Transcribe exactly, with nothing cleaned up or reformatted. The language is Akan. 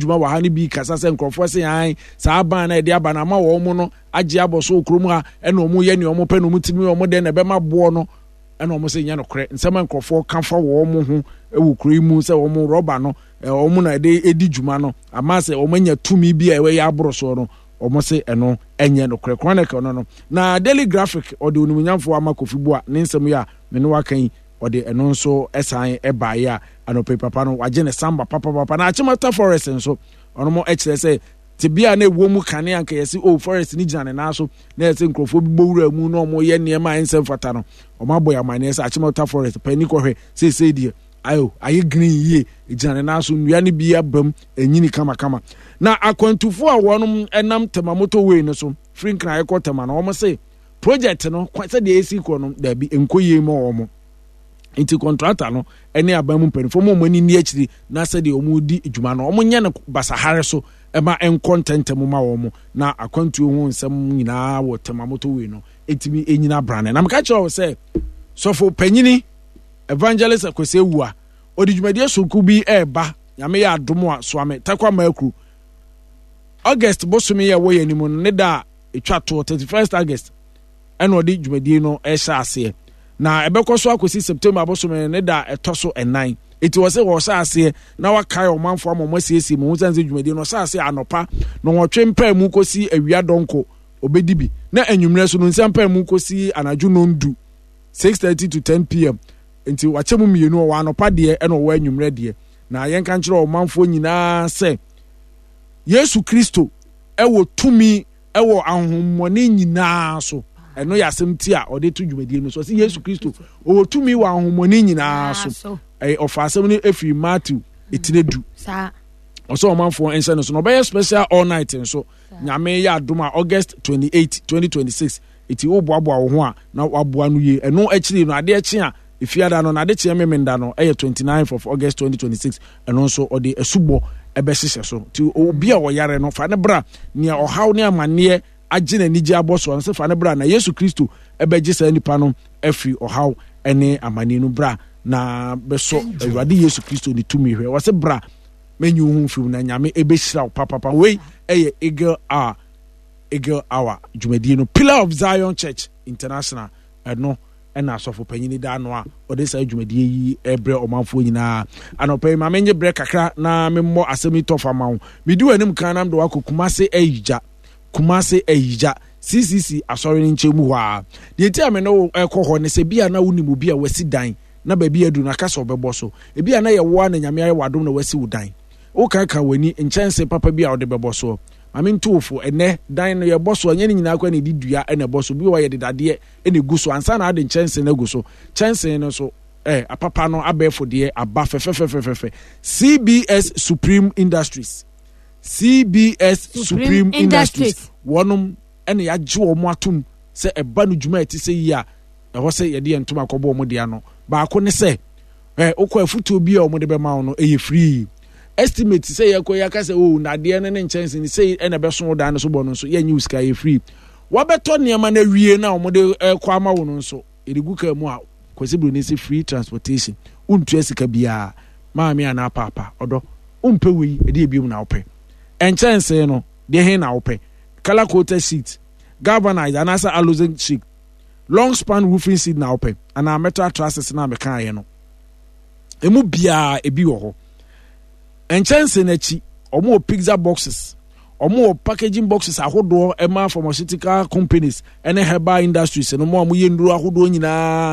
Dwuma wɔ ha no bi kasa sɛ nkurɔfoɔ se an saa ban na ɛde aba no ama wɔn mo no agye abɔ so wɔ kurom ha, ɛna wɔn yɛ nea wɔn pɛ na wɔn tumi wɔn dɛn na ɛbɛma boɔ no, ɛna wɔn sɛ nyɛ nokorɛ. Nsɛm a nkurɔfoɔ ka fa wɔn ho wɔ kuro yi mu sɛ wɔn rɔba no, wɔn na ɛde edi dwuma no ama sɛ wɔn anya tumi bi a ɛyɛ aboro soɔ no, wɔn se ɛno ɛnyɛ nokorɛ. Chronicle no no na Daily Graphic ɔde Onimonyamfoɔ Ama Kofi Boa ne nsɛm yi a me ne waka yi, ɔde ɛno nso ɛsan ɛbaeɛ a anɔpɛ papa no wagye ne samba papapapa. Na Achimota Forest nso, ɔno mo ɛkyerɛ sɛ tebea na ɛwɔ mu kane anka yɛsi o forest ni gyina ne nan so na yɛsɛ nkurɔfoɔ bi bɔ wura mu na wɔn yɛ nneɛma a ɛnsɛ mfata no, wɔn abɔ yɛ amaneɛ sɛ Achimota Forest panyin kɔhwɛ seesei deɛ ayo ayɛ green yie, gyina ne nan so, nnua no bi abam enyini kamakama. Na akwantufoɔ a wɔn nam Tema Motorway no so firi Nkran ɛkɔ Tema no, wɔn se project no sɛdeɛ esi kɔ no, daabi, nkɔ yie ma wɔn, nti contractor no ne aban mu mpanimfoɔ mu wɔn ani ni akyiri na sɛdeɛ wɔn di dwuma no, wɔn nyɛ no basahare so ɛma nkɔ ntɛntɛm ma wɔn, na akwantuo ho nsɛm nyinaa wɔ Tema Motorway no etimi enyina brane. Na meka kyerɛ wɔ sɛ sɔfo panyini Evangelist Akwasi Awua ɔde dwumadie sonko bi ɛreba. Nyame yɛ adom a, Soame Takwa Maakuru, August bosome yɛ ɛwɔ yɛn anim no ne da a ɛtwa toɔ, thirty-first August, ɛna ɔde dwumadie no ɛhyɛ aseɛ, na ɛbɛkɔ so akɔsi September bosome ne da a ɛtɔ so ɛnan. Eti wɔ sɛ wɔhyɛ aseɛ na wakae ɔmanfoɔ ama wɔn asiesie mu ho sɛ dwumadie no ɔhyɛ aseɛ anɔpa na wɔtwe mpaa mu kɔsi awia dɔnko obɛdi bi, na anwummerɛ so no nsa mpaa mu kɔsi anadwo nondu, six thirty to ten p m. Nti wakyɛ mu mmienu, ɔwɔ anɔpa deɛ ɛna ɔwɔ anwummerɛ deɛ. Na yɛnka nkyerɛ ɔmanfoɔ nyinaa sɛ Yesu Kristo ɛwɔ tumi ɛwɔ ahohommɔne nyinaa so. Ɛno yɛ asɛm ti a ɔde to dwumadie no so. Ɔsɛ Yesu Kristo ɔwɔ tumi wɔ ahohommɔne nyinaa so. Ɛyɛ ɔfa asɛm no efiri Matthew etire du. Ɔsɛ ɔmanfoɔ nhyɛ no so na ɔbɛyɛ special all night nso, Nyame yɛ adom a, August twenty-eight, twenty twenty-six. Eti woboaboa wo ho a na waboa no yie. Ɛno akyiri no, adeɛ kye a efiada no na ade kyeɛ memenda no ɛyɛ twenty-nine of August twenty twenty-six. Ɛno nso ɔde asubɔ ɛbɛhyehyɛ so, nti obi a ɔyare no, fa ne bra. Nea ɔhaw ne amanneɛ agye n'anigye abɔ so no sɛ fa ne bra, na Yesu Kristo ɛbɛgye saa nipa no afiri ɔhaw ne amanneɛ no. Bra na bɛsɔ Awurade Yesu Kristo ne tumi hwɛ. Wɔsɛ bra, mɛnyi wo ho mfirim na Nyame ɛbɛhyira wo papapa. Wei ɛyɛ Eagle Hour, Eagle Hour dwumadie no, Pillar of Zion Church International. Ɛno ɛna asɔfo panyin da ano a ɔde saa dwumadie yi ɛbrɛ ɔmanfoɔ nyinaa anɔpɛ yi. Maame nye brɛ kakra na memmɔ asɛm yi tɔfa ma wo. Medi w'anim kan nam de wakɔ Kumase Ayigya, Kumase Ayigya C C C asɔre no nkyɛn mu hɔ a. Deɛ ti a me ne wo ɛkɔ hɔ ne sɛ bi a na wonim obi a wasi dan na baabi adu na aka sɛ ɔbɛbɔ so. Ebi a na yɛwoa na Nyame ayɛ w'adom na wasi wo dan, wokaka w'ani nkyɛnse papa bi a wode bɛbɔ soɔ. Maame ntowofo, ɛnɛ dan no yɛbɔ so, ɛnyɛ ne nyinaa kora na ɛde dua ɛna ɛbɔ so. Bi wɔ yɛde dadeɛ ɛna egu so ansa na ade nkyɛnse no agu so. Kyɛnse no so ɛ apapa no, abɛɛfo deɛ aba fɛfɛfɛfɛfɛ. C B S Supreme Industries, C B S Supreme Industries, wɔnom ɛna yɛagye wɔn atom sɛ ɛba no dwuma a ɛte sɛ yi a ɛhɔ sɛ yɛde yɛn ntoma akɔbɔ wɔn deɛ no baako ne sɛ ɛ wokɔ afutuo bi a wɔde bɛma wo no ɛyɛ free. Estimate sɛ yɛkɔ yɛaka sɛ o nadeɛ no ne nkyɛnse no sɛ ɛna ɛbɛso wo dan no so bɔ no nso, yɛnyɛ wo sika, yɛ free. Wabɛtɔ nneɛma no awie na wɔde ɛkɔ ama wo no nso, yɛde gu kaa mu a, Kwasi Buroni sɛ free transportation, wontua sika biara. Maame anaa paapa ɔdɔ, wompɛ wei ɛde ebiom na wopɛ nkyɛnse no deɛ he na wopɛ? Colour coated sheet, galvanized anaasɛ aluzinc sheet, long span roofing sheet na wopɛ, anaa metal trusses na mekaeɛ no, emu biara ebi wɔ hɔ. Nkyɛnse n'akyi, wɔn wɔ pizza boxes, wɔn wɔ packaging boxes ahodoɔ ɛma pharmaceutical companies ɛne herbal industries no mo a wɔyɛ nnuro ahodoɔ nyinaa.